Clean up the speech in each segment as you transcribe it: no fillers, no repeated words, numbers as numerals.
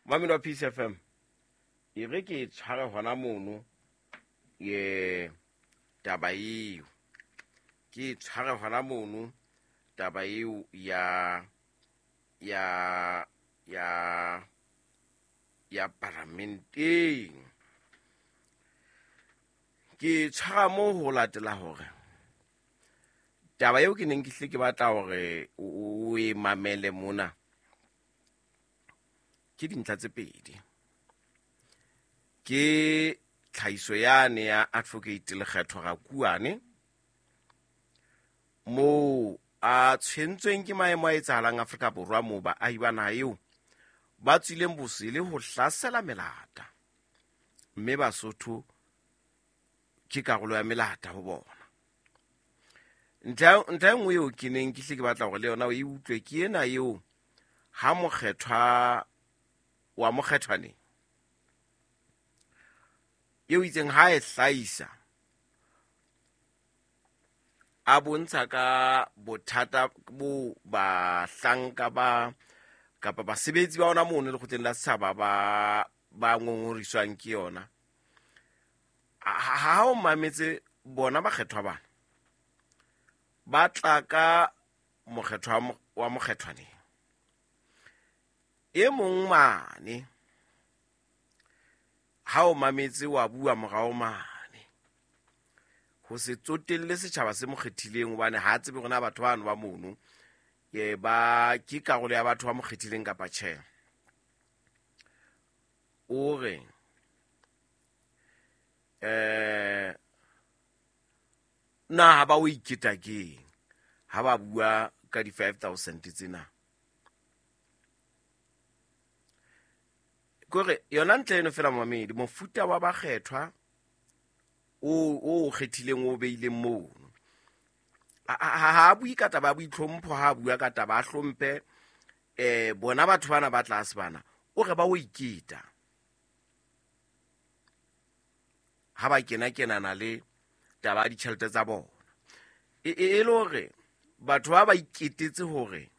Mamelo wa Peace FM, e re ke e tshware hona mono ye taba eo, ke e tshware hona mono taba eo ya ya ya ya paramenteng. Ke tshwara mo ho latela hore taba eo ke neng ke hle ke batla hore o e mamele mona ke dintlha tse pedi. Ke tlhahiso yane ya Advocate Lekgetho Rakuane, moo a tshwentsweng ke maemo a etsahalang Afrika Borwa, moo baahi ba naha eo ba tswileng bosele ho hlasela melata, mme Basotho ke karolo ya melata ho bona. Ntlha e nngwe eo ke neng ke hle ke batla hore le yona o e utlwe ke ena eo ha mokgethwa wa mokgethwaneng eo itseng ha e hlahisa a bontsha ka bothata bo bahlanka ba kapa basebetsi ba ona mono lekgotleng la setjhaba ba ba ngongoriswang ke yona. Ha o mametse bona bakgethwa bana ba tla ka mokgethwa wa mokgethwaneng e mong mane, ha o mametse wa bua morao mane ho se tsotelle setjhaba se mo kgethileng, hobane ha tsebe hore na batho bano ba mono e ba ke karolo ya batho ba mo kgethileng kapa tjhe. O re na ha ba o iketa keng ha ba bua ka di 5000 tsena? Kore yona ntle eno fela mamedi, mofuta wa bakgethwa o kgethileng o beileng mono, ha bue ka taba ya boitlhompho, ha bua ka taba a hlomphe bona batho bana ba tlase bana, o re ba o iketa ha ba kena kenana le taba ya ditjhelete tsa bona. E le hore batho ba ba iketetse hore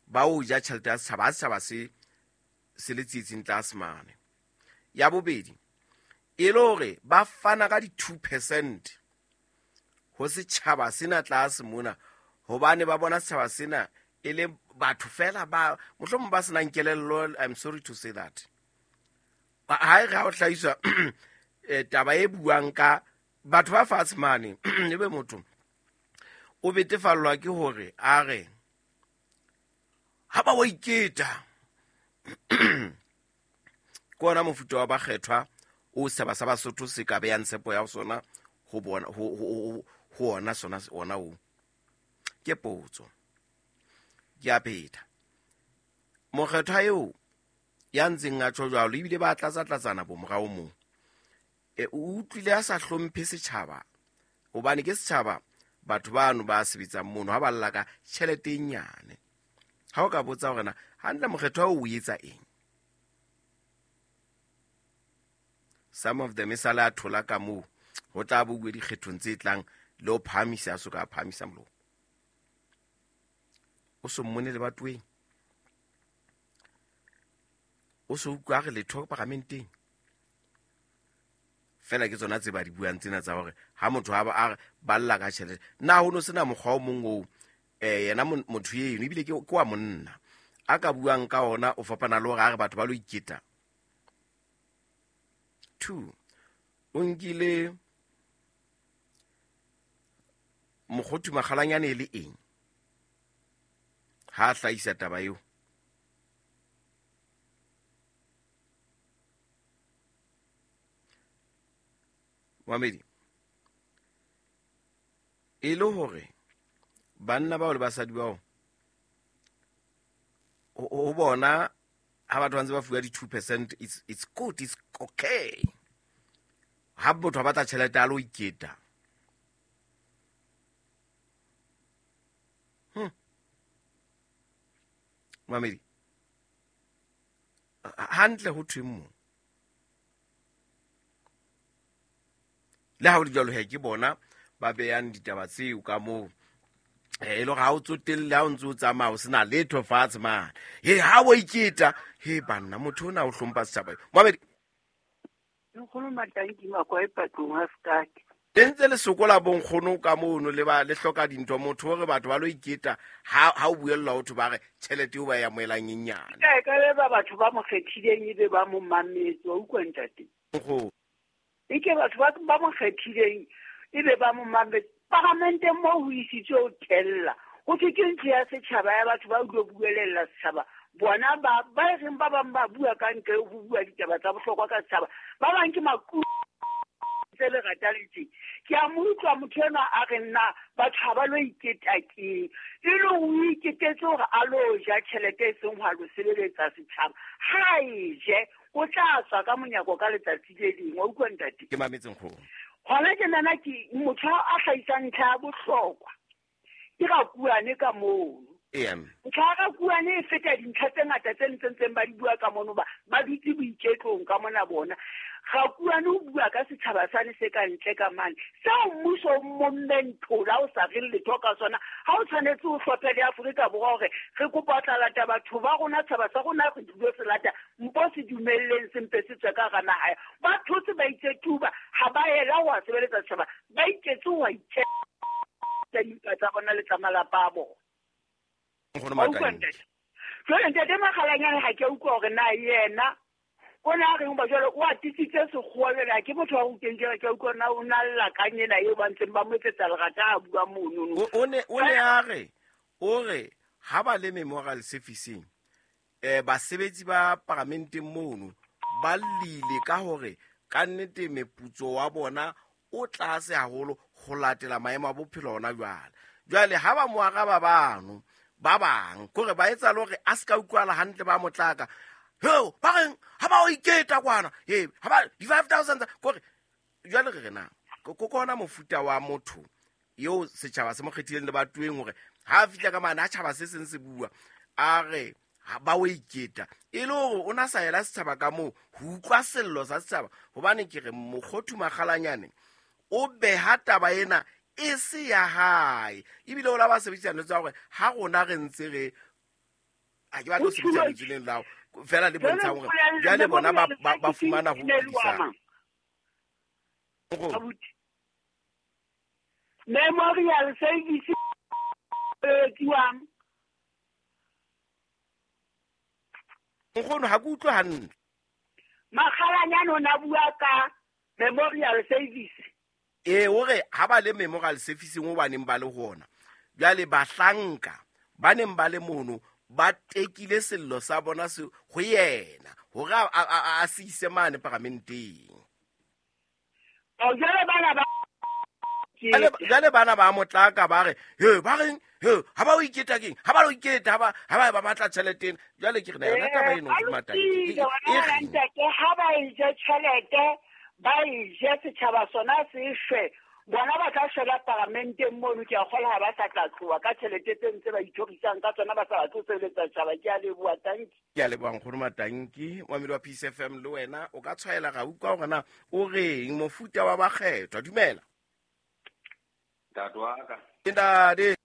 ba o ja tjhelete ya setjhaba, ha setjhaba se le tsietsing tlase mane. Ya bobedi, e le hore ba fana ka di-2% ho setjhaba sena tlase mona, hobane ba bona setjhaba sena e le batho fela ba mohlomong ba senang kelello. I'm sorry to say that. Ha e re ha o hlahiswa taba e buang ka batho ba fatshe mane, ebe motho o betefallwa ke hore a re ha ba wa iketa. Ke ona mofuta wa bakgethwa o setjhaba sa Basotho se ka beyang tshepo ya sona ho bona, ho ona sona ona o. Ke potso. Ke a pheta. Mokgethwa eo ya ntseng a tjho jwalo, ebile ba tlatsa-tlatsana bo morao moo. O utlwile a sa hlomphe setjhaba, hobane ke setjhaba batho bano ba sebetsang mono ha ba lla ka tjhelete e nyane. Ha o ka botsa hore na hantle mokgethwa o etsa eng, some of them e sale a thola ka moo ho tla bo bue dikgethong tse tlang le ho phahamisa, a so ka phahamisa molomo. O so mmone le batweng, o so utlwa re letho paramenteng. Fela ke tsona tse ba di buang tsena tsa hore ha motho a ba balla ka tjhelete, na ho no sena mokgwa o mong oo yena motho eno ebile ke wa monna a ka buang ka ona o fapana le hore a re batho ba lo iketa. 2, o nkile Mokgothu Makgalanyane e le eng ha a hlahisa taba eo? Mamedi, e le hore banna bao le basadi bao ho bona ha batho ba ntse ba fuwa di-2%, it's good, it's okay. Ha motho a batla tjhelete a lo iketa. Mamedi, hantle ho thweng moo? Le ha ho le jwalo, he ke bona ba beyang ditaba tseo ka moo. E le hore ha o tsotelle, ha o ntse o tsamaya o sena letho fatshe mane. He, ha o iketa, He banna, motho o na o hlompha setjhaba. Moabedi. Nkgono Matanki Makwa e patlong ha sekate. Le ntse le sokola bonkgono ka mono le ba le hloka dintho, motho o re batho ba lo iketa ha ha o buella ho thwe ba re tjhelete eo ba e amohelang e nyane. Ka e ka be ba batho ba mo kgethileng ebe ba mo mametse, wa utlwa ntate? Nkgono. Eke batho ba ba mo kgethileng ebe ba mo mametse. Paramenteng moo ho isitswe ho thella. Ho thwe ke ntlo ya setjhaba ya batho ba utlwe buelella setjhaba. Bona ba ba e reng ba bang ba bua ka ntle ho bua ditaba tsa bohlokwa ka setjhaba. Ba bang ke maku tse lerata le tje. Ke a mo utlwa motho enwa a re nna batho ha ba lo iketa keng. E le o iketetse hore a lo ja tjhelete e seng ho a lo sebeletsa setjhaba. Ha e je, o tla tswa ka monyako ka letsatsi le leng. Wa utlwa ntate? Ke mametse nkgono. Hona tjenana ke motho a hlahisang ntlha ya bohlokwa. Ke Rakuane ka mono. Ntlha ya Rakuane e feta dintlha tse ngata tse ntseng ba di bua ka mono ba ba dutse boiketlong ka mona bona. Rakuane o bua ka setjhaba sane se ka ntle ka mane. Seo mmuso o mommeng thola o sa reng letho ka sona. Ha o tshwanetse o hlophe le Afrika Borwa hore re kopa ho tla lata batho ba rona, tshaba sa rona re tlilo se lata, mpo se dumelleng se mpe se tswe ka hara naha. Ba thotse ba itse tuba, ha ba ela ho a sebeletsa setjhaba, ba iketse ho a itjheba dimpa tsa bona le tsa malapa a bona. Nkgono Wa utlwa Matanki. ntate? Jwale ntate Makgalanyane ha ke a utlwa hore na yena o na reng ba jwale o atisitse sekgowa jwale ha ke motho wa ruteng jwale ke a utlwa na o na lla kang ena eo ba ntseng ba mo etsetsa lerata a bua monono. O ne o ne a re o re ha ba le memorial servicing basebetsi ba paramenteng mono ba llile ka hore ka nnete meputso wa bona o tlase haholo ho latela maemo a bophelo hona jwale. Jwale ha ba mo araba bano ba bang kore ba etsa le hore a se ka utlwala hantle ba motlaka. Heo, ba reng ha ba o iketa kwana, he ha ba di 5000 kore jwale re re na ko kona mofuta wa motho eo setjhaba se mo kgethileng le batueng hore ha a fihla ka mane ha tjhaba se seng se bua a re ha ba o iketa e le hore o na sa ela setjhaba ka moo ho utlwa sello sa setjhaba, hobane ke re Mokgothu Makgalanyane o beha taba ena e se ya hae, ebile o la ba sebedisa tsa hore ha rona re ntse re ha ke batle ho sebedisa lentswe leno la hao, fela le bontshang hore jwale bona ba fumana ho utlwisisa. Memorial service etsiwang. Nkgono ha ke utlwe hantle. Makgalanyane o na bua ka memorial service. O re ha ba le memorial service o ba neng ba le hona. Jwale bahlanka ba neng ba le mono ba tekile sello sa bona se ho yena hore a se ise mane paramenteng. O jwale bana ba Jwale bana ba motlaka ba re, he ba reng, he ha ba o iketa keng, ha ba o iketa, ha ba batla tjhelete ena. Jwale ke re na yona taba eno Ba ke Matanki. lokile, wena ntate, ha ba e je tjhelete, ba e je setjhaba sona se shwe. Bona ba tla shwela paramenteng mono, ke a kgolwa ha ba sa tla tloha ka tjhelete tse ntse ba ithorisang ka tsona, ba sa batle ho sebeletsa setjhaba. Ke a leboha, tanki. Ke a leboha nkgono Matanki, moamedi wa Peace FM le wena o ka tshwaela ra utlwa hore na o reng mofuta wa bakgethwa. Dumela. Ntate wa ka. Ke ntate.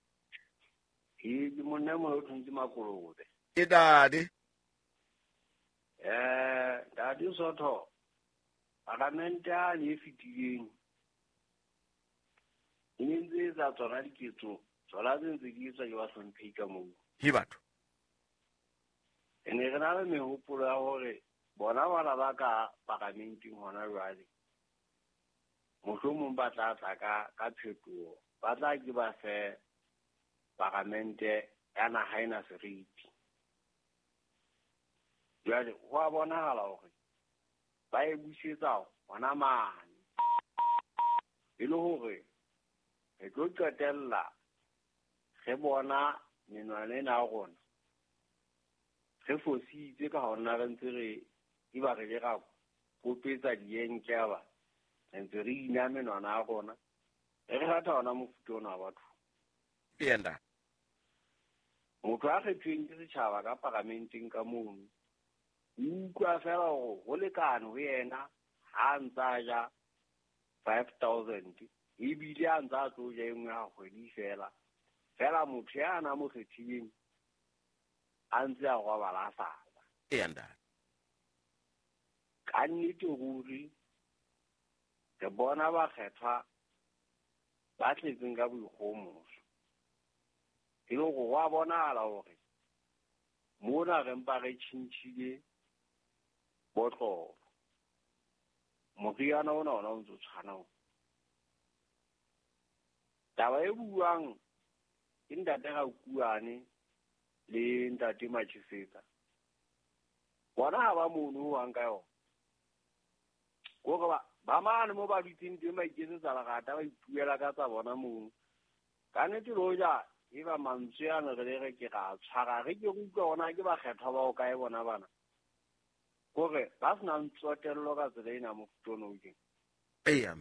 Ke monna e mong o thuntse makolobe. Ke ntate. Ntate Sotho, paramente a le e fetileng e ne ntse e etsa tsona diketso, tsona tse ntse di etswa ke bahlomphehi ka moo. He batho. Re ne re na le mehopolo ya hore bona bana ba ka paramenteng hona jwale, mohlomong ba tla tla ka phetoho, ba tla ke ba fe paramente ya naha ena seriti. Jwale ho a bonahala hore ba e busetsa hona mane, e le hore re tlo qetella re bona menwana ena ya rona re fositse ka hona re ntse re e ba re le ra kopetsa dienke ba re ntse re ina menwana ya rona, re rata hona mofuta ona wa batho. Enda. Motho a kgethweng ke setjhaba ka paramenteng ka mono, o utlwa fela hore ho lekane ho yena ha a ntse a ja 5000, ebile a ntse a tlo ja e nngwe ha kgwedi fela. Fela motho ya na mo kgethileng a ntse a robala a sa ja. Eya ntate. Ka nnete ruri re bona bakgethwa ba tletseng ka boikgohomoso. E le hore ho a bonahala hore mona re mpa re tjhentjhile botlolo. Moriana ona ona o ntso tshwana ona. Taba e buang ke ntate Rakuane le ntate Machisetsa. Bona ha ba mono ho hang ka yona. Kore ba mane mo ba dutseng teng ba iketsetsa lerata, ba ipuela ka tsa bona mono. Ka nnete le hoja e ba mantswe ano re le re ke ra tshwara, re ke re utlwa hore na ke bakgethwa ba hokae bona bana. Kore ba senang tsotello ka tsela ena mofuta ona o tjena. Eya.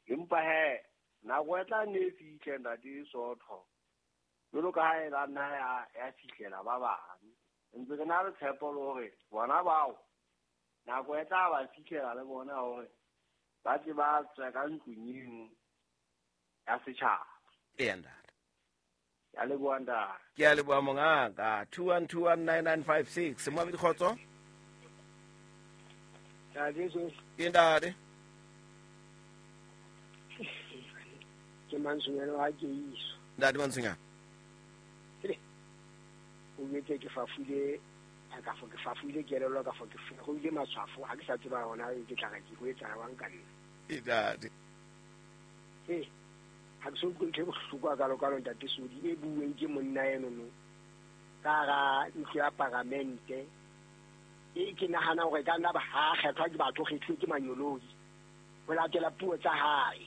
Empa he nako e tla nne e fihle ntate Sotho. Jwalo ka ha e la nna ya fihlela ba bang. Ntse re na le tshepo le hore bona bao nako e tla ba fihlela le bona hore ba tle ba tswe ka ntlong eno ya setjhaba. Eya ntate. Ke a leboha ntate. Ke a leboha mongaka. 21219956. Moabedi Kgotso. Ntate so. Ke ntate. Ke Mantsonyana wa Keiso. Ntate Mantsonyana. O betse ke fafule ka fo ke fafule kelello ka fo ke feroile matshwafo ha ke sa tseba hona ke tla re ke ho etsa jwang ka nna. Ntate. Ha ke so utlwe ntho e bohloko hakalo-kalo ntate Sodi e bueng ke monna eno no ka hara ntlo ya paramente e ke nahana hore ka nna ba ha kgethwa ke batho kgethuwe ke manyoloi ho latela puo tsa hae.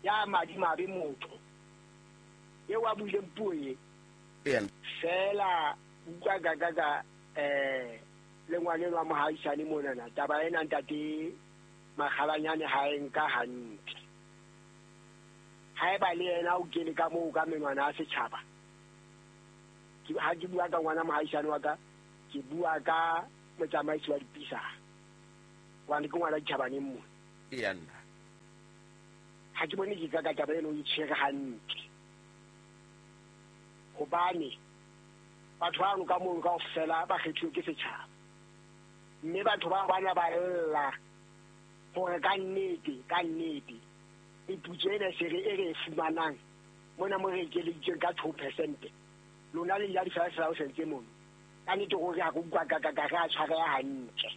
Ya madimabe motho eo a buileng puo e fela utlwa ka le ngwaneno wa mohaisane monana taba ena ntate Makgalanyane ha e nka hantle. Haeba le yena o kene ka moo ka menwana ya setjhaba. Ha ke bua ka ngwana mohaisane wa ka, ke bua ka motsamaisi wa dipisa. Hobane ke ngwana ditjhabaneng mona. Eya nna. Ha ke bone ke ka taba eno e tshwere hantle. Hobane batho bano ka mono kaofela ba kgethuwe ke setjhaba. Mme batho ba bana ba lla hore ka nnete meputso ena se re e re e fumanang mona mo re ekeleditsweng ka 2% lona le ja di-5,000 tse mono. Ka nnete hore ha ke utlwa ka re a tshwareha hantle.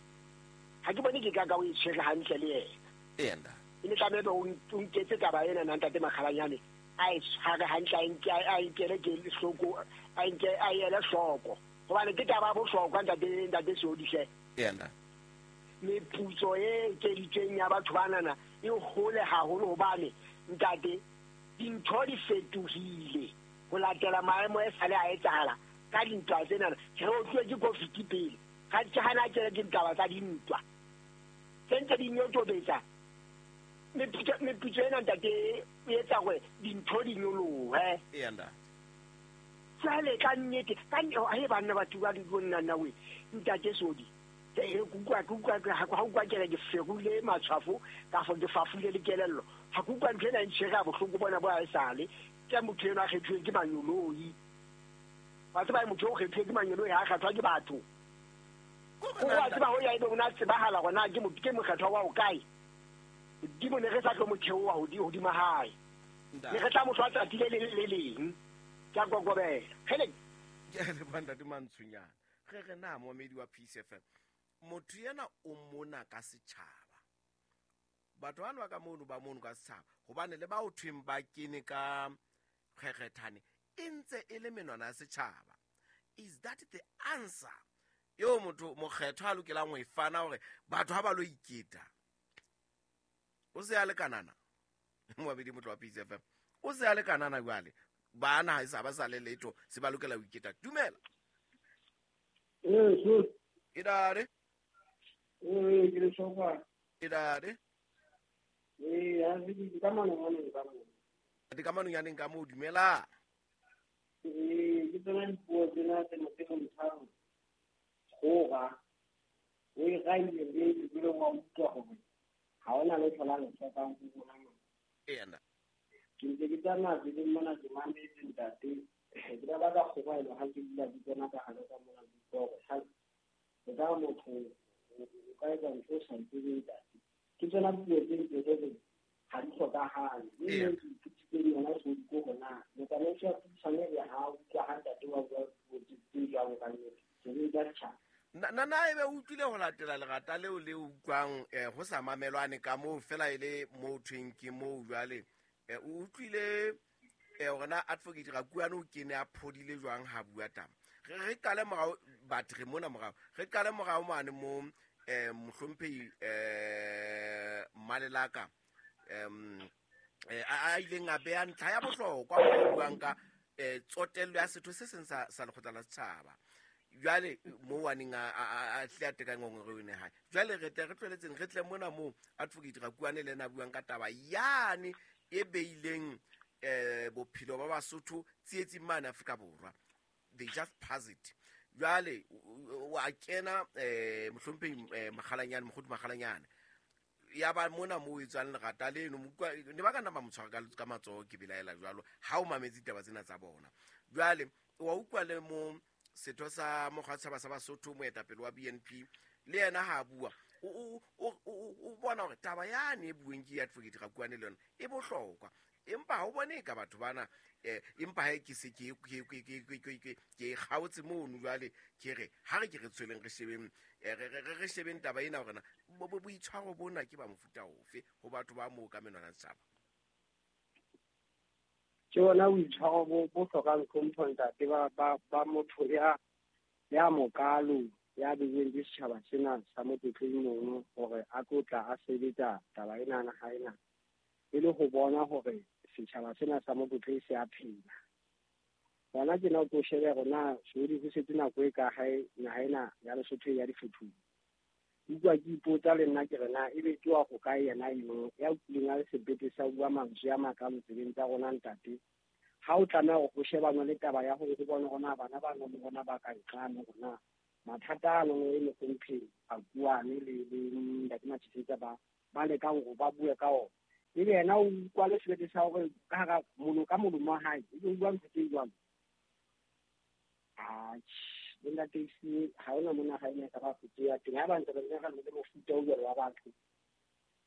Ha ke bone ke ka o e tshwere hantle le yena. Eya nna. E ne tlameha o nketse taba ena na ntate Makgalanyane a e tshware hantle, a nkele ke hloko, a nke a ele hloko. Hobane ke taba ya bohlokwa ntate Sodi hle. Eya nna. Meputso e ekeditsweng ya batho banana e hole haholo hobane ntate dintho di fetohile ho latela maemo e sale a etsahala ka dintwa tsenana. Re otluwe ke COVID pele, ga ke hana ke ke ditaba tsa dintwa tse ntse di nyotobetsa. Meputso ena ntate e etsa hore dintho di nyolohe. Eya ntate. Jwale ka nnete ka he banna batho ba di bonna nna we ntate Sodi. Ke utlwa ha utlwa ke re ke feroile matshwafo ka fo ke fafule le kelello. Ha ke utlwa ntho ena e ntshwere ha bohloko bona bo ha esale. Ke motho enwa a kgethuweng ke manyoloi. Wa tseba motho o kgethuweng ke manyoloi ha a kgethwa ke batho. O wa tseba ho ya ebe o na tsebahala hore na ke motho ke mokgethwa wa hokae. Modimo ne re sa tlo mo theoha hodima hae. Ne re tla mo hlwa tsatsi le leng le leng. Ke a kokobela. Hele. Ke a leboha ntate Mantsonyana. Re re na moamedi wa Peace FM. Motho yena o mona ka setjhaba. Batho bano ba ka mono ba mono ka setjhaba. Hobane le ba o thweng ba kene ka kgekgethane e ntse e le menwana ya setjhaba. Is that the answer? Eo motho mokgethwa a lokelang ho e fana hore batho ha ba lo iketa. O se a le kanana. Moabedi motho wa Peace FM. O se a le kanana jwale. Bana ha e sa ba sa le letho se ba lokela ho iketa. Dumela. So. Idare. Ke le sokwa. Idare. Ha se ke ka manong ka mo. Di ka manong yaneng ka mo dumela. Ke tsena dipuo tsena tse mo tse mothang. Goga. O e gaile le le wa utlwa hore ha ona le tlhola le tlhokang go bona mo. Ena. Ke ntse ke tsamaya tseleng mona ke mametse ntate. Ke ba ka kgobaelo ha ke dula ke tsena Mme ke ithutile yona so ko hona motsamaisi wa puisano le ha utlwa ha ntate wa bua tse jwalo ka nnete sebetsa setjhaba. Na ebe o utlwile ho latela lerata leo le utlwang ho sa mamelwane ka moo fela e le mo thweng ke moo jwale o utlwile hore na advocate Rakuane o kene a phodile jwang ha bua taba. Re qale morao batho re mona morao re qale morao mane mo mohlomphehi Mmalelaka a ileng a beha ntlha ya bohlokwa mo buang ka tsotello ya setho se seng sa lekgotla la setjhaba. Jwale mo waneng a tle a teka ngongoreo ene hae. Jwale re tle re tlweletseng re tle mona mo advocate Rakuane le ena a buang ka taba yane e beileng bophelo ba Basotho tsietsing mane Afrika Borwa. They just pass it. Jwale wa kena mohlomphehi Makgalanyane Mokgothu Makgalanyane ya ba mona mo e tswang lerata leno ne ba ka nna ba mo tshwara ka matsoho ke belaela jwalo ha o mametse ditaba tsena tsa bona. Jwale wa utlwa le mo setho sa mokgwa setjhaba sa Basotho moetapele wa BNP le yena ha bua o bona hore taba yane e bueng ke advocate Rakuane le yona e bohlokwa empa ha o bone ka batho bana empa ha ke se ke kgaotse mono jwale ke re ha re ke re tsweleng re shebeng re shebeng taba ena hore na boitshwaro bona ke ba mofuta ofe ho batho ba moo ka menwana setjhaba. Ke bona boitshwaro bo hlokang tlhompho ntate ba motho ya mokalo ya beilweng ke setjhaba sena sa Motlotleng mono hore a tlo tla a sebetsa taba ena ha ena e le ho bona hore setjhaba sena sa Motlotleng se a phela. Hona tjena o tlo shebe hore na Sodi ho setse nako e ka hae naha ena ya Lesotho ya difuthu. Utlwa ke ipotsa le nna ke re na ebe ke wa ho kae yena eno ya utlwileng a le sebete sa bua mantswe a makalo tsebeng tsa rona ntate. Ha o tlameha hore ho shebana le taba ya hore ho bone hore na bana ba nang le rona ba ka nqane hore na mathata ano e mohlomphehi Rakuane le ntate Mathisetsa ba lekang hore ba bue ka ona. Ebe yena o utlwa le sebete sa hore ka hara ka molomo wa hae ebe o bua ntho tse jwalo. Atjhe, ntate ha hona mona ha ena ka ba fete ya teng ha ba ntse re le mofuta o jwalo wa batho.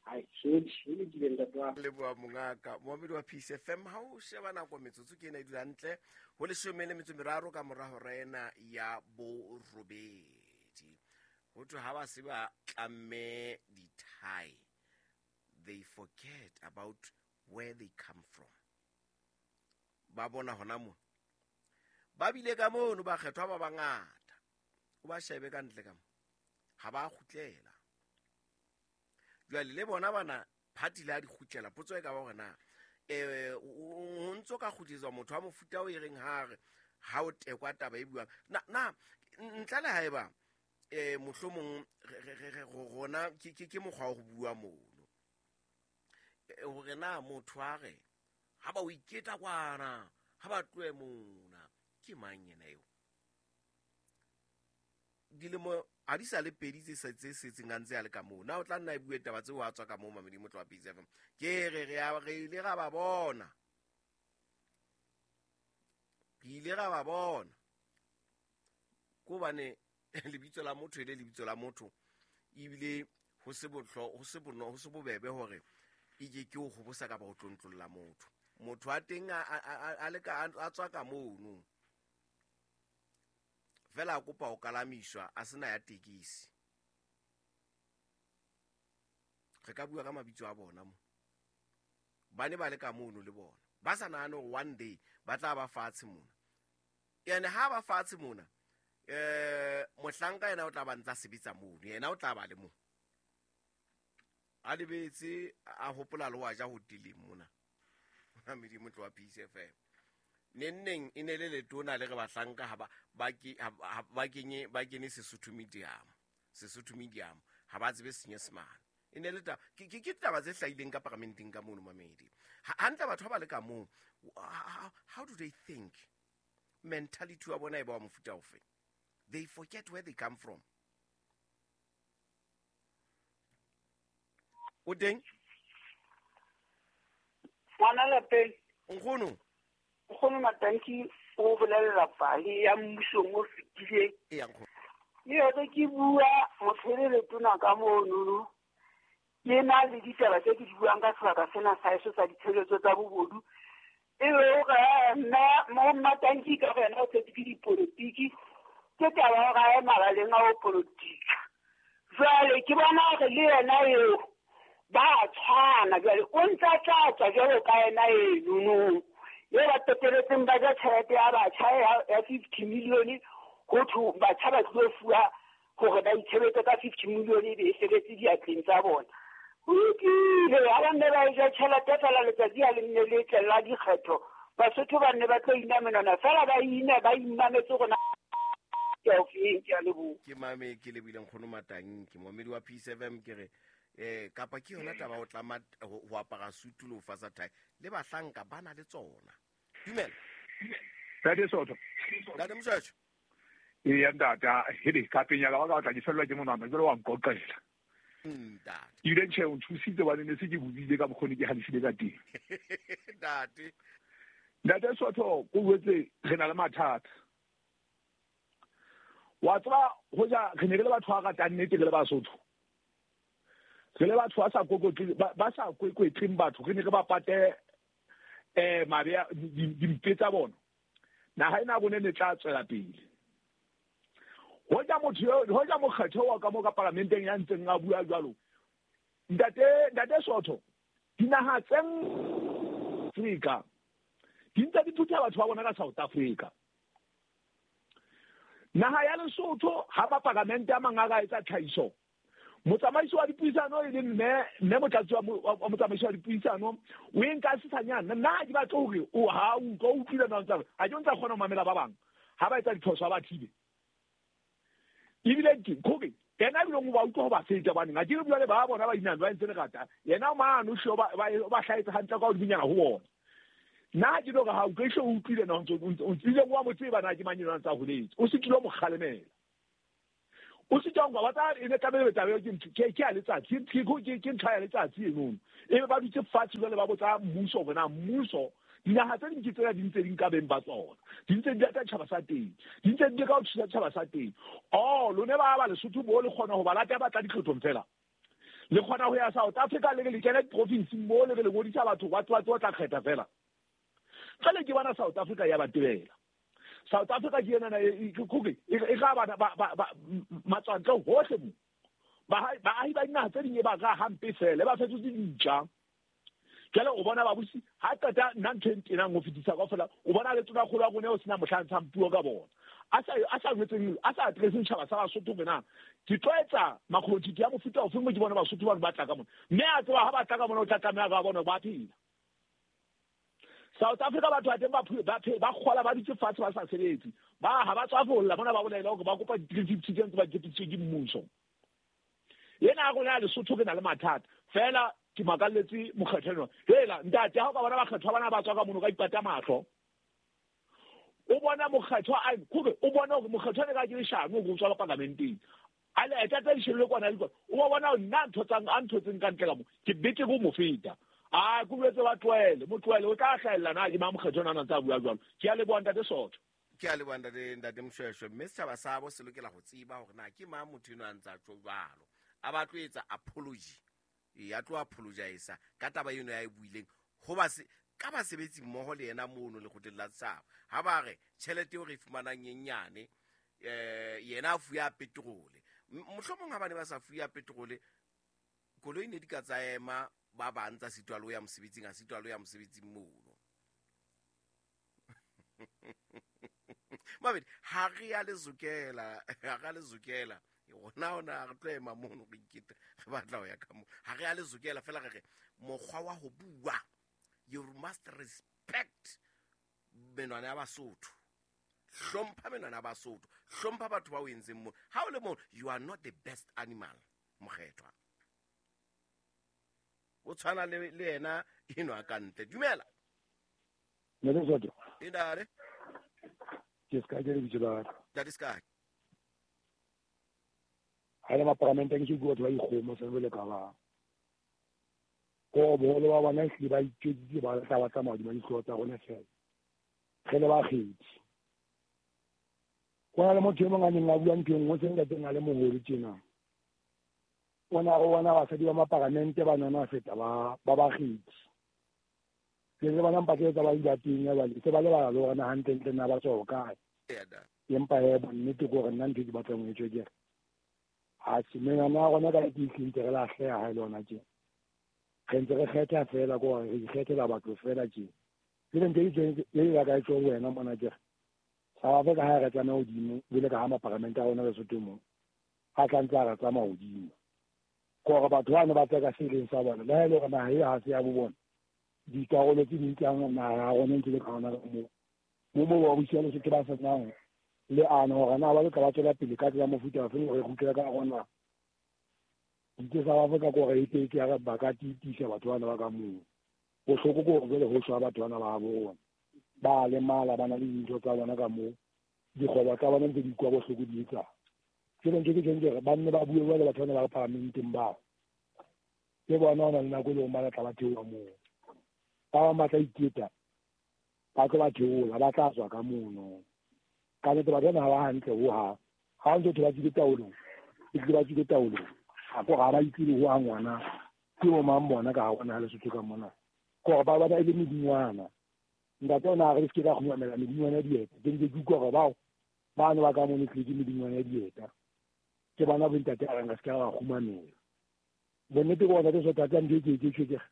Ai, e lokile ntate wa. Leboha mongaka moamedi wa Peace FM ha o sheba nako metsotso ke ena e dula hantle ho 13 ka mora hora ena ya 8. Ho thwe ha ba se ba tlamme dithai, they forget about where they come from. Ba bona hona mo ba bile ka mono ba kgethwa ba bangata o ba shebe ka ntle ka mo ha ba kgutlela. Jwale le bona bana party la di kgutlela potso e ka ba hore na o ntso ka kgutliswa motho wa mofuta o e reng ha re ha o tekwa taba e buang na ntle le haeba mohlomong re rona ke mokgwa wa ho bua mono hore na motho a re ha ba o iketa kwana ha ba tlohe mona ke mang yena eo dilemo ha di sa le pedi tse setseng a ntse a le ka moo na o tla nna e bue taba tseo a tswa ka moo mamedi motlo wa Peace FM ke re re ile ra ba bona re ile ra ba bona ko bane lebitso la motho e le lebitso la motho ebile ho se bohlo ho se bono ho se bobebe hore e ke ke o hobosa ka ba ho tlontlolla motho motho a teng a le ka a tswa ka mono fela a kopa ho kalamiswa a sena ya tekisi. Re ka bua ka mabitso a bona mo ba ne ba le ka mono le bona ba sa nahane hore one day ba tla ba fatshe mona ene ha ba fatshe mona mohlanka yena o tla ba ntsa sebetsa mono yena o tla ba le mo a lebetse a hopola le wa ja hoteleng mona Mamedi motlo wa Peace FM nenneng e ne le letona le re bahlanka ha ba kene Sesotho medium ha ba tsebe Senyesemane e ne le ke taba tse hlahileng ka paramenteng ka mono mamedi hantle batho ba le ka moo how do they think mentality wa bona e ba wa mofuta ofe they forget where they come from. O teng ngwana lapeng nkgono nkgono Matanki o bolela pale ya mmusong o fetileng e ya nkgono le yone ke bua motho le letona ka mono Ke na le ditaba tse ke di buang ka sebaka sena sa heso sa ditshebeletso tsa bobodu. E be hore mme mo Mmatanki ka re yena o tshetse ke dipolotiki, ke taba ya hore a ye mabaleng a ho polotika. Jwale ke bona hore le yena eo ba tshwana jwale o ntse a tla tswa jwalo ka yena enono e ba qeteletseng ba ja tjhelete ya batjha ya 50 million, ho thwe batjha ba tlo fuwa hore ba itshebetse ka 50 million e be e sebetse diatleng tsa bona. Ho lokile, ha ba nne ba e ja tjhelete fela letsatsi ha le nne le tle la dikgetho, Basotho ba nne ba tlo ina menwana fela ba ine ba imametse rona ke a ofeng. Ke a leboha. Ke mame ke lebile nkgono Matanki, momedi wa Peace FM. Ke re kapa ke yona taba o tlama ho apara sutu le ho fasa thae, le bahlanka ba na le tsona. Dumela. Ntate Sotho. Ntate Moshweshwe. Eya ntata, hele ka penya ka ba ka tla ke fellwa ke monwana jwale wa nkoqela. Ntate. Ebile tjhe o nthusitse hobane ne se ke bobile ka bokgoni ke halefile ka teng. Ntate. Ntate Sotho, ko jwetse re na le mathata. Wa tseba hoja re ne re le batho ba ratang nnete re le Basotho. Re le batho ba sa kokotle ba sa kwekwetleng batho, re ne re ba pate mabe dimpe tsa bona. Naha ena rona ne tla tswela pele. Hoja motho eo, hoja mokgetho wa ka mo ka parlamenteng ya ntseng a bua jwalo. Ntate Sotho, dinaha tse Afrika di ntse di phutha batho ba bona ka South Africa. Naha ya Lesotho ha ba parlamente a mang a ka etsa tlhahiso, motsamaisi wa dipuisano e le mme motlatsi wa motsamaisi wa dipuisano o e nka sesanyana. Nna ha ke batle hore o ha o utlwa o utlwile na o ntsa ha ke ntsa kgona ho mamela ba bang ha ba etsa diphoso ha ba thibe. Ebile ke hore yena ebile o ba utlwa ho ba feta baneng ha ke re bua le ba bona ba inang ba entse lerata, yena mane o hle o ba hlahetse hantle ka hodimonyana ho bona. Nna ha ke no re ha utlwe hle o utlwile na o ntse o ntse wa mo tseba na ke mang enwa ntse a holetse, o se tlilo mo kgalemela. O se tjang ba tsa e ne tlamehile taba eo ke ntho ke ya letsatsi, ke ntlha ya letsatsi eno. Ebe ba dutse fatshe jwale ba botsa mmuso hore na mmuso dinaha tse ding ke tsena di ntse di nka beng ba tsona, di ntse di lata tjhaba sa teng, di ntse di leka ho thusa tjhaba sa teng. Oh, lone ba ba Lesotho bo le kgona ho ba lata ba tla ditlhotlong fela. Le kgona ho ya South Africa le re le kena diprofinsing mo le re le ngodisa batho ba tlo tla kgetha fela. Jwale ke bona South Africa ya ba tebela. South Africa ke ena e e ga bana ba matswantle hohle mo. Baahi ba dinaha tse ding e ba ka hampe fela, ba fetotse dintja. Jwale o bona babusi ha qeta nna ntho e ntenang ho fetisa kaofela, o bona le tonakgolo ya rona eo sena mohla ntshang puo ka bona. A sa jwetseng, a sa addresseng tjhaba sa Basotho hore na ke tlo etsa makgobonthitho ya mofuta ofe mo ke bona Basotho bano ba tla ka mona. Mme a tseba ha ba tla ka mona o tla tlameha ka bona ba phela. South Africa batho ba teng ba kgola ba dutse fatshe ba sa sebetse. Ba ha ba tswa folla mona ba bolela hore ba kopa di-350 tse ntse ba tshepedisitswe ke mmuso. Ena ya rona ya Lesotho re na le mathata. Fela ke makalletse mokgetho enwa. Hela ntate ha o ka bona bakgethwa bana ba tswa ka mono ka ipata mahlo. O bona mokgetho a kore o bona hore mokgetho ne ka ke leshano hore o tswa ka parlamenteng. A le eta tsa dishebile kwana le kwana. O ba bona nna ntho tsang a ntho tseng ka ntle ka mo. Ke bete go mo feta. A ke boletse ba tlohele, mo tlohele o tla hlahella na ke mang mokgetho ona ntse a bua jwalo. Ke a leboha ntate Sotho. Ke a leboha ntate Moshweshwe. Mme setjhaba sa bo se lokela ho tseba hore na ke mang motho enwa a ntse a tjho jwalo. A ba tlo etsa apology. E a tlo apologize ka taba eno ya e buileng ho ba se ka basebetsi mmoho le yena mono lekgotleng la setjhaba. Ha ba re tjhelete eo re e fumanang e nyane, yena a fuya petrole. Mohlomong ha ba ne ba sa fuya petrole, koloi ne di ka tsa ema ba bang tsa sitwa le ho ya mosebetsing, a sitwa le ho ya mosebetsing mono. Mabedi, ha re ya lezokela, ha re ya lezokela. Rona ona re tlo ema mono re ikete, re batla ho ya ka moo. Ha re ya lezokela fela re re mokgwa wa ho bua, you must respect menwana ya Basotho. Hlompha menwana ya Basotho, hlompha batho ba o entseng mono. Ha o le mono, you are not the best animal, mokgethwa. O tshwana le yena enwa ka ntle. Dumela. Ntate Sotho. E ntate. Ke ska ke lebitso la ka. Ntate Ska. Ha le maparamente ke bua batho ba ikgomo sa le ka ba. Ko boholo ba bona ehlile ba itjwetsitse ba tla ba tsamaya hodima dihlooho tsa rona fela. Re le bakgethi. Ho na le motho e mong a neng a bua ntho e nngwe se ntateng a le moholo tjena. O na go bona basadi ba maparamente ba nona feta ba bakgethi. Ke le bona mpatla tsa ba di bateng ya bale se ba lebala le hore na hantlentle na ba tswa hokae. Empa he bonnete ke hore nna ntho e ke batlang ho e tjho ke re atjhe menwana ya rona ka ke ntse re lahleha ha e le hona tje. Re ntse re kgetha fela ke hore re ikgethela batho fela tje. Jwale ntho e e ka e tjho ho wena mona ke re South Africa ha re tsamaya hodimo jwale ka ha maparamente a rona Lesotho mo a tla ntse a re tsamaya hodimo. Ke hore batho bano ba tseka se leng sa bona le ha e le hore naha e ha se ya bo bona. Dikarolo tse ding tsa naha ya rona ntse le ka hona ka moo. Mo mo ba busi ya Lesotho ba senang le ano hore na ba tla ba tswela pele ka tsela mofuta ofe hore re kgutlele ka rona. Ditse South Africa ke hore e ke ya re ba ka tiisa batho bana ba ka moo. Bohloko ke hore jwale ho shwa batho bana ba bo rona. Ba lemala ba na le dintho tsa bona ka moo. Dikgwebo tsa bona ntse di kwa bohloko di etsa. Jwale ntho ke tjheng ke re ba nne ba bue jwale batho bana ba paramenteng bao. Ke bona hona le nako e leng ba tla ba theoha moo. Ba bang ba tla iketa ba tlo ba theola ba tla tswa ka mono. Ka nnete batho bana ha ba hantle hohang. Ha o ntso thwe ba tswile taolong, e tlile ba tswile taolong. Ha ke hore ha ba itsebe hohang ngwana ke bo mang bona ka hare ho naha Lesotho ka mona. Ke hore ba bona e le medingwana. Ntate ona a re se ke ka kgumamela medingwana ya dieta. Ke ntse ke utlwa hore bao bano ba ka mono tlile ke medingwana ya dieta. Ke bona bo ntate a reng re se ke ra ba kgumamela. Bonnete ke hore ntate Sotho ntho e ke tjho ke re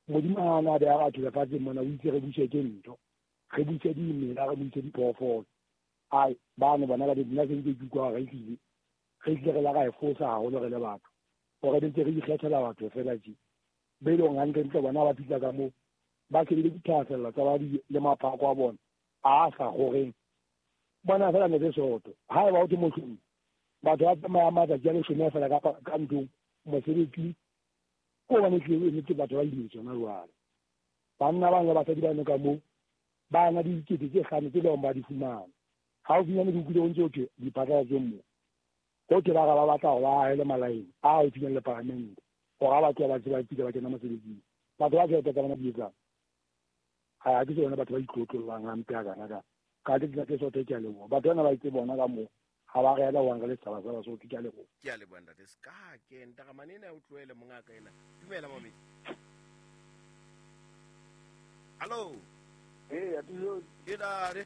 Modimo ha a na beha batho lefatsheng mona o itse re buse ke ntho. Re buse dimela, re buse diphoofolo. Ai bano bona ka nna se ntse ke utlwa hore ehlile re tlile re la ra e fosa haholo re le batho. Hore re ntse re ikgethela batho fela tje. Be e leng hantlentle bona ba fihla ka moo ba shebile dithahasello tsa ba le maphako a bona a sa kgoreng. Bona fela ne Lesotho ha eba o thwe mohlomong batho ba tsamaya matsatsi a leshome fela ka ntlong mosebetsing ko hobane ehlile nnete batho ba imetswe hona jwale. Banna bang le basadi bano ka moo ba na le dikete tse hlano tse leng ba di fumana. Haufinyane ke utlwile ho ntse ho thwe diphatlalatsong moo. Ho thwe ba re ba batla hore ba ahele malaeng a haufinyane le paramente hore ha ba tloha ba se ba kile ba kena mosebetsing. Batho ba tjhelete tsa bona di etsang? Ha ke tsona batho ba itlotlollang hampe hakana ka. Ka ke tsela tse Sotho ke a leboha. Batho bana ba itse bona ka moo ha ba re ela hoang re le setjhaba sa Basotho ke a leboha. Ke a leboha ntate. Ska ke ntaramane ena o tlohele mongaka ena. Dumela momedi. Hallo. Eh, atiso. Ke dare.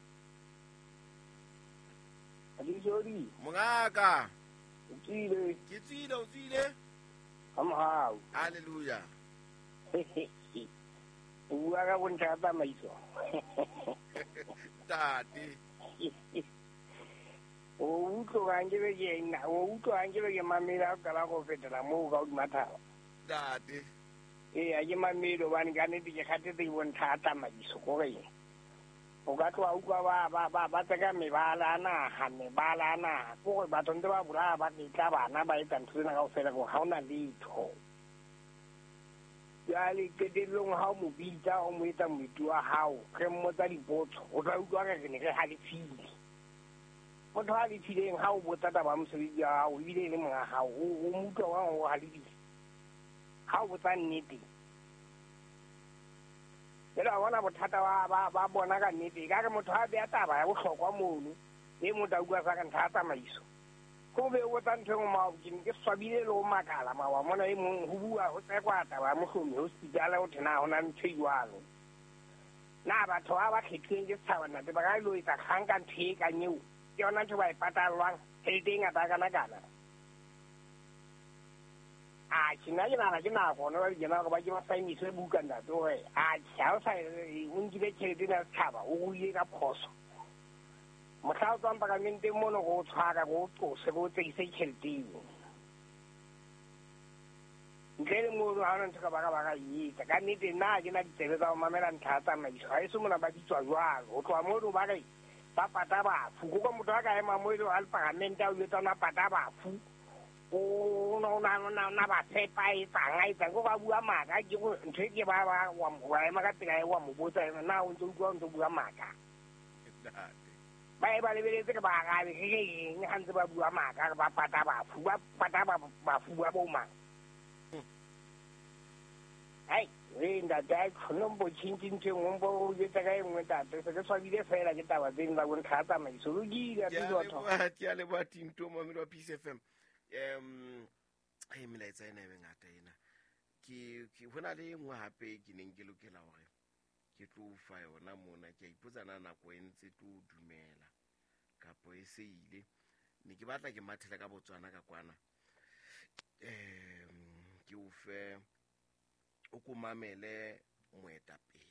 Atiso. Mongaka. O tswile. Ke tswile, o tswile. Ka mohau. Hallelujah. O bua ka bontlha ya tsamaiso. Ntate. O utlwa nke be ke nna, o utlwa nke be ke mamela o qala go fetela moo ka hodima thaba. Ntate. Ee, ha ke mamele hobane ka nnete ke kgathetse ke bontlha ya tsamaiso kore o ka tloha utlwa ba tseka mebala a naha, mebala a naha. Ke hore batho ntse ba bolaya ba retla bana ba etsa ntho tsena kaofela hore ha hona letho. Jwale qetellong ha o mo bitsa o mo etsa moeti wa hao, re mmotsa dipotso, o tla utlwa re re ne re halefile. Motho a halefileng ha o botsa taba ya mosebetsi wa hao ebile e le monga hao, o mo utlwa jwang hore o halefile? Ha o botsa nnete. Jwale wa bona bothata ba bona ka nnete. Ekare motho ha beha taba ya bohlokwa mono, e motho a utlwa sa re ntlha ya tsamaiso. Ko be o botsa ntho e nngwe mao, ke ne ke swabile le ho makala mawa mona e mong ho bua ho tsekwa taba ya mohlomi hospital ho thwe na ho na ntho e jwalo. Na batho ba ba kgethilweng ke setjhaba ntate ba ka ilo etsa kgang ka ntho e kang eo? Ke yona ntho ba e patallwang tjhelete e ngata kana kana. Atjhe, nna ke nahana ke nako hona jwale tjena hore ba ke ba sign-iswe buka ntate hore atjhe ha o sa o nkile tjhelete ena ya setjhaba o ruile ka phoso. Mohla o tswang paramenteng mono re o tshwara, re o qose, re o tsekise tjhelete eo. Ntle le mono ha hona ntho ka ba ka ba ka e etsa. Ka nnete nna ha ke na ditsebe tsa ho mamela ntlha ya tsamaiso. Ha eso mona ba bitswa jwalo. Ho tloha mono ba re ba pata bafu. Ko ka motho a ka ema moo e le hore a le paramente a o jwetsa ona pata bafu. O na ba tshepa a etsang a etsang. Ko ba bua maka ke go ntho e ke ba wa ema ka pela wa mo botsa na o ntso utlwa o ntso bua maka. Ba e ba lebeletse re ba arabe re re eng ha ntse ba bua maka re ba pata bafu ba pata bafu ba bo mang. Ai re ntate a khone mbo tjhintjhe ntho e nngwe mbo o jwetsa ka e nngwe ntate se ke swabile fela ke taba tseno tsa bontlha ya tsamaiso. Lokile, Ke a leboha Tinto momedi wa Peace FM. E melaetsa ena e mengata ena. Ke ho na le e nngwe hape ke neng ke lokela hore ke tlo fa yona mona. Ke a ipotsa na nako e ntse tlo dumela kapo e se ile. Ne ke batla ke mathele ka Botswana ka kwana. Ke o fe o ko mamele moetapele,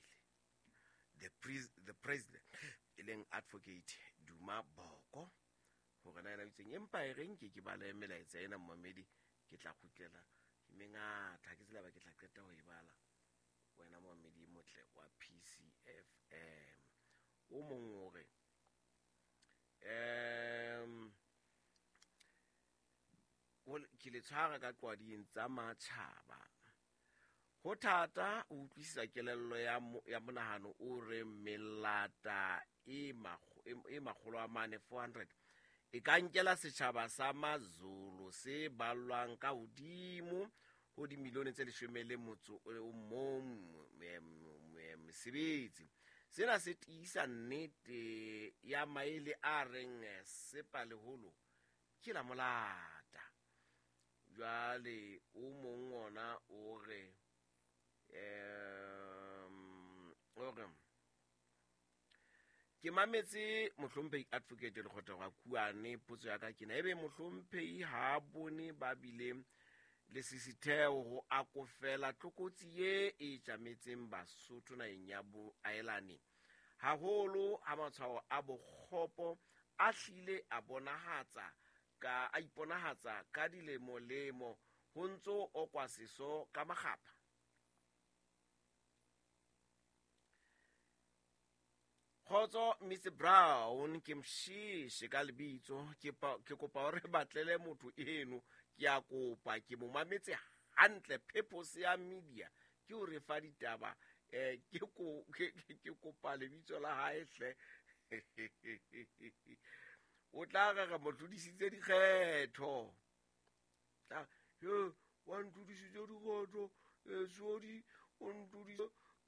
the president, e leng Advocate Duma Boko, hore na ena o itseng. Empa e reng ke bale melaetsa ena momamedi, ke tla kgutlela mengata, ke tsela ba ke tla qeta ho e bala. Wena momamedi motle wa PCFM, o mong o re ke le tshwara ka qwading tsa matjhaba. Ho thata ho utlwisisa kelello ya monahano o re melata e makgolo a mane 400 e ka nkela setjhaba sa Mazulu se ballwang ka hodimo ho dimilione tse 11 mesebetsi. Sena se tiisa nnete ya maele a reng sepa leholo ke la molata. Jwale o mong ona o re ke mametse mohlomphehi Advocate Lekgotla wa Kuane. Potso ya ka ke na ebe mohlomphehi ha bone ba bile le sisitheo ho akofela tlokotsi ye e tjametseng Basotho naheng ya boaelane, haholo ha matshwao a bokgopo a hlile a bonahatsa ka a iponahatsa ka dilemo lemo ho ntso okwa seso ka makgapha. Kgotso Mr Brown, ke mshishe ka lebitso, ke kopa hore batlele motho eno, ke a kopa ke mo mametse hantle. Purpose ya media ke o re fa ditaba, ke kopa lebitso la hae hle. O tla re mo tlodisitse dikgetho. Tla yo wa ntlodisitse dikgetho, Sodi o ntlodisitse